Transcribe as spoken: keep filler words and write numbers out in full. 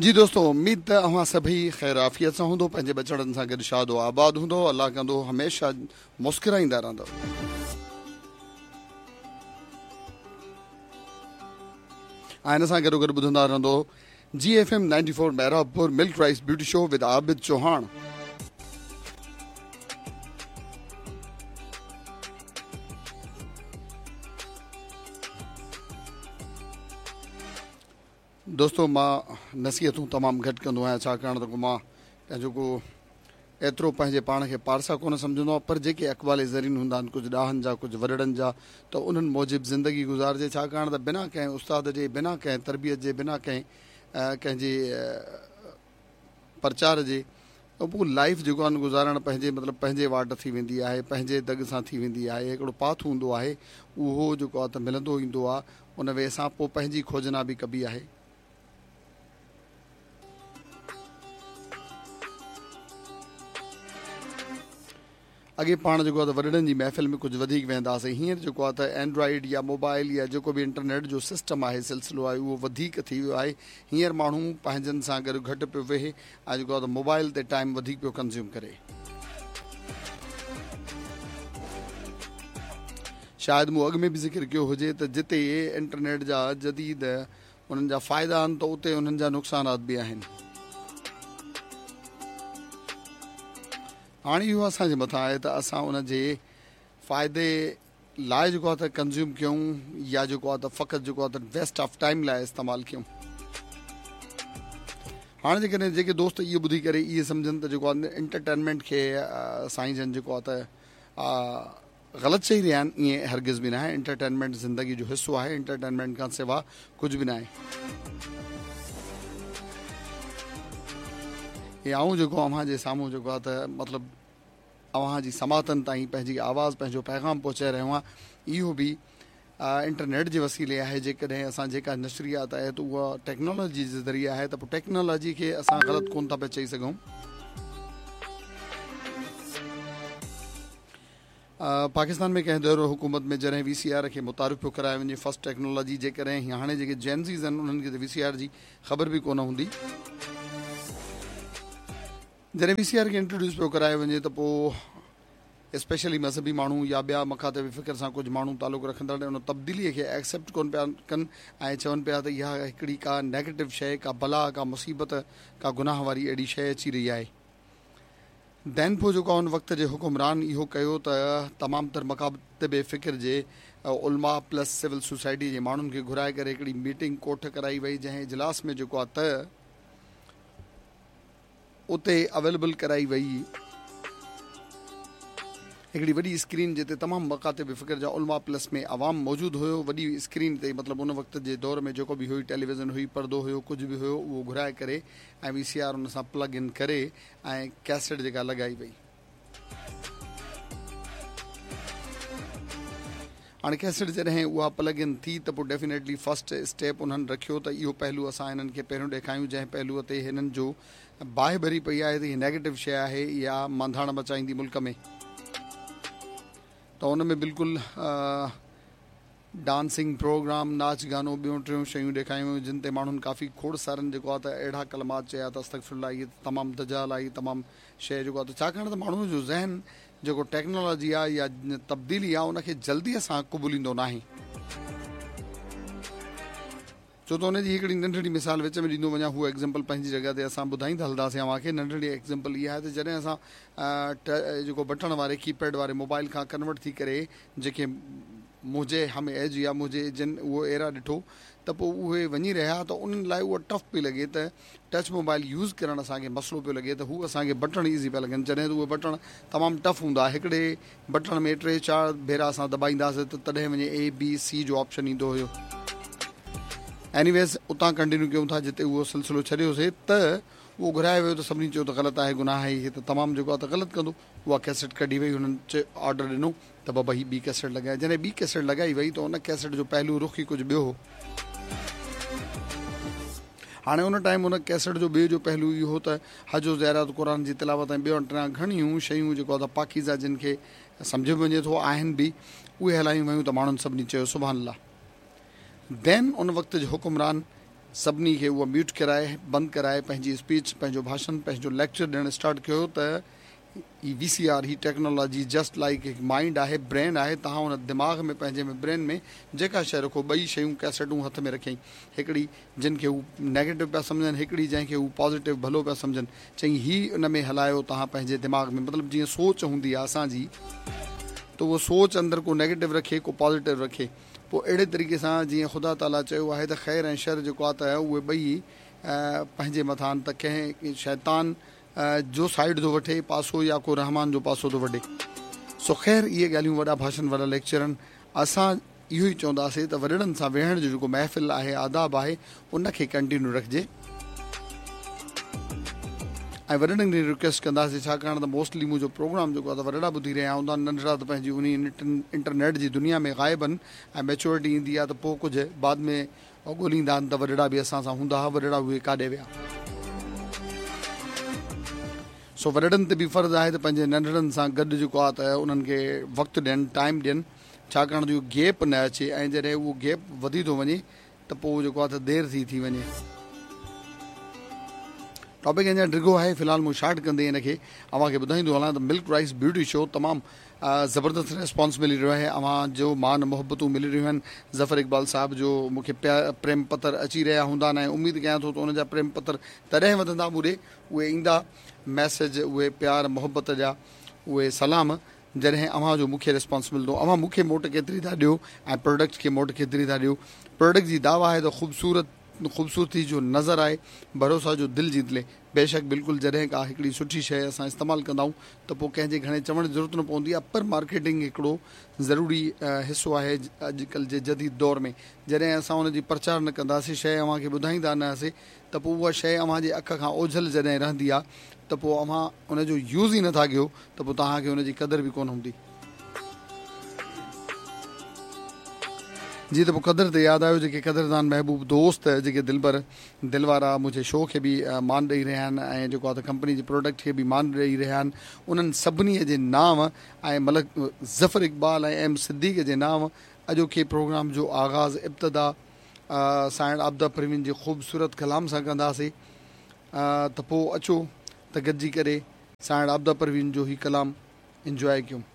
जी दोस्तों, उम्मीद त अव्हां सभई ख़ैर आफ़ियत सां हूंदो, पंहिंजे बचड़नि सां गॾु शादो आबाद हूंदो। अलाह कंदो हमेशह मुस्कुराईंदा रहंदो। ऐं हिन सां गॾो गॾु ॿुधंदा रहंदो G F M ninety four Mehrabpur milk rice beauty show with Abid Chauhan. दोस्तों, मां नसीहतूं तमामु घटि कंदो आहियां, छाकाणि त मां पंहिंजो को एतिरो पंहिंजे पाण खे पारसा कोन सम्झंदो आहियां, पर जेके अक़वाल ज़रीन हूंदा आहिनि कुझु ॾाहनि जा, कुझु वॾड़नि जा, त उन्हनि मूजिबि ज़िंदगी गुज़ारिजे। छाकाणि त बिना कंहिं उस्ताद जे, बिना कंहिं तरबियत जे, बिना कंहिं कंहिंजे प्रचार जे पोइ लाइफ जेको आहे गुज़ारणु पंहिंजे मतिलबु पंहिंजे वाट थी वेंदी आहे, पंहिंजे दॻ सां थी वेंदी आहे। हिकिड़ो पाथ हूंदो आहे, उहो जेको आहे त मिलंदो ईंदो आहे, उन वे सां पोइ पंहिंजी खोजना बि कबी आहे। अॻे पाण जेको आहे त वॾड़नि जी महफ़िल में कुझु वधीक वेंदासीं, हींअर जेको आहे त एंड्रॉइड या मोबाइल या जेको बि इंटरनेट जो सिस्टम आहे, सिलसिलो आहे, उहो वधीक थी वियो आहे। हींअर माण्हू पंहिंजनि सां गॾु घटि पियो वेहे ऐं जेको आहे त मोबाइल ते टाइम वधीक पियो कंज़्यूम करे। शायदि मूं अॻु में बि ज़िक्र कयो हुजे त जिते इंटरनेट जा जदीद उन्हनि जा फ़ाइदा आहिनि त उते उन्हनि जा नुक़सानात बि आहिनि। हाणे इहो असांजे मथां आहे त असां उनजे फ़ाइदे लाइ जेको आहे त कंज़्यूम कयूं या जेको आहे त फ़क़ति जेको आहे त वेस्ट ऑफ टाइम लाइ इस्तेमालु कयूं। हाणे जेकॾहिं जेके दोस्त इहो ॿुधी करे इहे सम्झनि त जेको आहे एंटरटेनमेंट खे साईं जन जेको आहे त ग़लति चई रहिया आहिनि, ईअं हरगिज़ बि न आहे। एंटरटेनमेंट ज़िंदगी जो हिसो आहे, एंटरटेनमेंट खां सिवा कुझु बि न आहे। हे आऊं जेको अव्हांजे साम्हूं जेको आहे त मतिलबु अव्हांजी समातनि ताईं पंहिंजी आवाज़, पंहिंजो पैगाम पहुचाए रहियो आहियां, इहो बि इंटरनेट जे वसीले आहे। जेकॾहिं असां जेका नशरियात आहे त उहा टेक्नोलॉजी जे ज़रिए आहे, त पोइ टेक्नोलॉजी खे असां ग़लति कोन था पिया चई सघूं। पाकिस्तान में कंहिं दौर हुकूमत में जॾहिं वी सी आर खे मुतारिफ़ पियो करायो वञे, फर्स्ट टेक्नोलॉजी, जेकॾहिं हाणे जेके जेनज़ीज़ आहिनि उन्हनि खे त वी सी आर जी ख़बर बि कोन हूंदी। जॾहिं वी सी आर खे इंट्रोड्यूस पियो करायो वञे त पोइ स्पेशली मज़हबी माण्हू या ॿिया मखातिब फ़िक्र सां कुझु माण्हू तालुक़ु रखंदड़ उन तब्दीलीअ खे एक्सेप्ट कोन पिया कनि ऐं चवनि पिया त इहा हिकिड़ी का नेगेटिव शइ, का बला, का मुसीबत, का गुनाह वारी अहिड़ी शइ अची रही आहे। Then पोइ जेको उन वक़्त जे हुकुमरान इहो कयो त तमामु तर मकातिब फ़िक्र जे उल्मा प्लस सिविल सोसाइटी जे माण्हुनि खे घुराए करे हिकिड़ी मीटिंग कोठ कराई वई, जंहिं इजलास में जेको आहे त उते अवेलेबल कराई वई हिकिड़ी वॾी स्क्रीन, जिते तमामु मकातिब फ़िक्र जा उल्मा प्लस में आवाम मौजूदु हुयो। वॾी स्क्रीन ते मतिलबु उन वक़्त जे दौर में जेको बि हुई, टेलीविज़न हुई, पर्दो हुयो, कुझु बि हुयो, उहो घुराए करे ऐं वी सी आर उन सां प्लग इन करे ऐं कैसेट जेका लॻाई वई। हाणे कैसेट जॾहिं उहा प्लग इन थी त पोइ डेफिनेटली फर्स्ट स्टेप उन्हनि रखियो त इहो पहलू असां हिननि खे पहिरियों ॾेखारियूं, जंहिं पहलूअ ते हिननि जो बाहि भरी पई आहे त हीअ नेगेटिव शइ आहे या मांधाण मचाईंदी मुल्क में, त उन में बिल्कुलु डांसिंग प्रोग्राम, नाच गानो, ॿियूं टियों शयूं ॾेखारियूं वयूं, जिन ते माण्हुनि काफ़ी खोड़ सारनि जेको आहे त अहिड़ा कलमात चया त अस्तग़फिरुल्लाह, इहे तमामु दजाल आहे, तमामु शइ जेको आहे त छाकाणि त माण्हूअ जो ज़हन जेको टेक्नोलॉजी आहे या तब्दीली आहे उनखे जल्दीअ सां क़बूलींदो नाहे। छो त हुनजी हिकिड़ी नंढड़ी मिसाल विच में ॾींदो वञा, हूअ एग्ज़ाम्पल पंहिंजी जॻह ते असां ॿुधाईंदा हलंदासीं अव्हांखे। नंढड़ी एग्ज़ाम्पल इहा आहे त जॾहिं असां जेको बटण वारे कीपैड वारे मोबाइल खां कन्वर्ट थी करे जेके मुंहिंजे हम एज या मुंहिंजे जिन उहो एरा ॾिठो त पोइ उहे वञी रहिया त उन्हनि लाइ उहा टफ पई लॻे त टच मोबाइल यूज़ करणु असांखे मसइलो पियो लॻे त हू असांखे बटण ईज़ी पिया लॻनि, जॾहिं त उहे बटण तमामु टफ हूंदा। हिकिड़े बटण में टे चारि भेरा असां दॿाईंदासीं त तॾहिं वञे ए बी सी जो ऑप्शन ईंदो हुयो। एनीवेज़ उतां कंटिन्यू कयूं था जिते उहो सिलसिलो छॾियोसीं त उहो घुरायो वियो त सभिनी चयो त ग़लति आहे, गुनाह आहे, हीअ त तमामु जेको आहे त ग़लति कंदो। उहा कैसेट कढी वई, हुननि ऑर्डर ॾिनो त बाबा हीअ ॿी कैसेट लॻाए। जॾहिं ॿी कैसेट लॻाई वई त उन कैसेट जो पहलू रुख ई कुझु ॿियो हो। हाणे उन टाइम उन कैसेट जो ॿियो जो पहलू इहो हो त हज ज़ियारत, क़ुरान जी तिलावत ऐं ॿियो टियां घणियूं शयूं जेको आहे त पाकीज़ा जिन खे सम्झो बि वञे थो आहिनि बि, उहे हलायूं वयूं त माण्हुनि सभिनी चयो सुभान अल्लाह। Then उन वक़्त जे हुकुमरान سڀني کي اها ميوٽ ڪرائي بند ڪرائي پنهنجي اسپيچ، پنهنجو ڀاشڻ، پنهنجو ليڪچر ڏيڻ اسٽارٽ ڪيو ته هي وي سي آر، هي ٽيڪنالاجي جسٽ لائيڪ هڪ مائينڊ آهي، برين آهي، توهان ان دماغ ۾ پنهنجي ۾ برين ۾ جيڪا شيء رکو، ٻئي شيون ڪيسيٽون هٿ ۾ رکيائين، هڪڙي جن کي هو نيگيٽو پيا سمجهن، هڪڙي جنهن کي هو پازيٽو ڀلو پيا سمجهن، چيائين هي ان ۾ هلايو توهان پنهنجي دماغ ۾، مطلب جيئن سوچ هوندي آهي اسان جي ته اهو سوچ اندر ڪو نيگيٽو رکي ڪو پازيٽو رکي، پوء اهڙي طريقي سان جيئن خدا تعاليٰ چيو آهي ته خير ۽ شر جيڪو آهي ته اهي ٻئي پنهنجي مٿان ته ڪنهن شيطان جو سائيڊ ٿو وٺي پاسو يا ڪو رحمان جو پاسو ٿو وٺي. سو خير اهي ڳالهيون وڏا ڀاشن وڏا ليڪچرن اسان اهو ئي چونداسين ته وڏڙن سان ويهڻ جو جيڪو محفل آهي آداب آهي ان کي ڪنٽينيو رکجي ۽ وڏڙن کي رڪويسٽ ڪنداسين ڇاڪاڻ ته موسٽلي منهنجو پروگرام جيڪو آهي ته وڏڙا ٻڌي رهيا هوندا ننڍڙا ته پنهنجي انهي انٽرنيٽ جي دنيا ۾ غائب آهن ۽ ميچورٽي ايندي آهي ته پوء ڪجهه بعد ۾ ڳوليندا آهن ته وڏڙا به اسان سان هوندا هئا وڏڙا اهي ڪاڏي ويا. سو وڏڙن تي به فرض آهي ته پنهنجي ننڍڙن سان گڏ جيڪو آهي ته انهن کي وقت ڏين ٽائيم ڏين ڇاڪاڻ جو اهو گيپ نه اچي ۽ جڏهن اهو گيپ وڌي ٿو وڃي ته پوء جيڪو آهي ته دير ٿي ٿي وڃي. ٽاپڪ اڃا ڊگهو آهي في الحال مون شارٽ ڪندي ان کي اوهان کي ٻڌائيندو هلان ته ملڪ رائس بيوٽي شو تمام زبردست ريسپانس ملي رهيو آهي اوهان جو مان محبتون ملي رهيون آهن ظفر اقبال صاحب جو مون کي پريم پتر اچي رهيا هوندا آهن ۽ اميد ڪيان ٿو ته ان جا پريم پتر تڏهن وڌندا مون ڏي اهي ايندا ميسيج اهي پيار محبت جا اهي سلام جڏهن اوهان جو مون کي ريسپانس ملندو اوهان مون کي موٽ ڪيتري ٿا ڏيو ۽ پروڊڪٽ کي موٽ ڪيتري ٿا ڏيو پروڊڪٽ جي دعويٰ آهي ته خوبصورت خوبصورتي جو نظر آهي ڀروسا جو دل جيت لي بيشڪ بلڪل جڏهن ڪا هڪڙي سٺي شيء اسان استعمال ڪندا آهيون ته پوء ڪنهن جي گهڻي چوڻ جي ضرورت نه پوندي آهي پر مارڪيٽنگ هڪڙو ضروري حصو آهي اڄڪلهه جي جديد دور ۾ جڏهن اسان ان جي پرچار نه ڪنداسين شيء اوهان کي ٻڌائيندا نه هئاسين ته پوء اها شيء اوهان جي اک کان اوجهل جڏهن رهندي آهي ته پوء اوهان ان جو يوز ئي نٿا ڪيو ته پوء توهان کي ان جي قدر به ڪونه هوندي. جي ته پوء قدر تي ياد آيو جيڪي قدردان محبوب دوست جيڪي دلبر دل وارا منهنجي شو کي به مان ڏئي رهيا آهن ۽ جيڪو آهي ته ڪمپني جي پروڊڪٽ کي به مان ڏئي رهيا آهن انهن سڀني جي نانء ۽ ملڪ ظفر اقبال ۽ ايم صديق جي نانء اڄوڪي پروگرام جو آغاز ابتدا سائڻ عابده پروين جي خوبصورت ڪلام سان ڪنداسين ته پوء اچو ته گڏجي ڪري سائڻ عابده پروين جو هي ڪلام انجواء ڪيون.